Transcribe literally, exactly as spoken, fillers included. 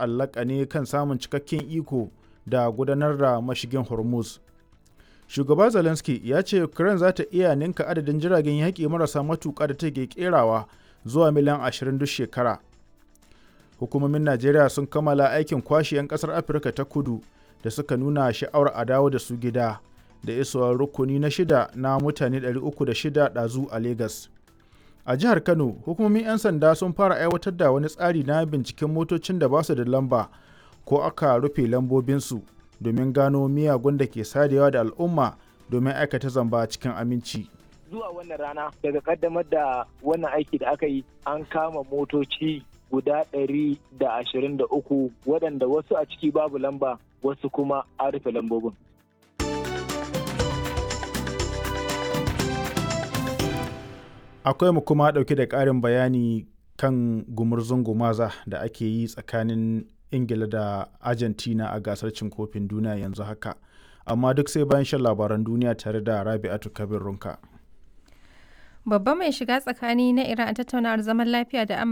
Ta'allaka ne kan samun cikakken iko da gudanar da mashigin Hormuz. Shugaba Zelensky ya ce Ukraine za ta iya ninka adadin jiragen yaƙi marasa matuƙa da take kerawa zuwa miliyan ashirin duk shekara. Hukumomin Najeriya sun kammala aikin kwashe 'yan ƙasar Afirka ta Kudu da suka nuna sha'awar a dawo da su gida da isowar rukuni na shida na mutane ɗari uku da shida ɗazu a Legas. A jihar Kano, hukumomin 'yan sanda sun fara aiwatar da wani tsari na binciken motocin da ba su da lamba ko aka rufe lambobinsu domin gano miyagun da ke sadewa da al'umma domin aikata zamba cikin aminci. Zuwa wannan rana daga kaddamar da wannan aiki da aka yi, an kama motoci guda ɗari da ashirin da uku waɗanda wasu a ciki babu lamba, wasu kuma an rufe lambobin. Akwai mu kuma ɗauke da ƙarin bayani kan gumurzun gumaza da ake yi tsakanin Ingila da Argentina a gasar cin kofin duniya yanzu haka. Amma duk sai bayan shan labaran duniya tare da Rabi'atu Kabir Runka. Babba mai shiga tsakani na Iran a tattaunawar zaman lafiya da Amurka.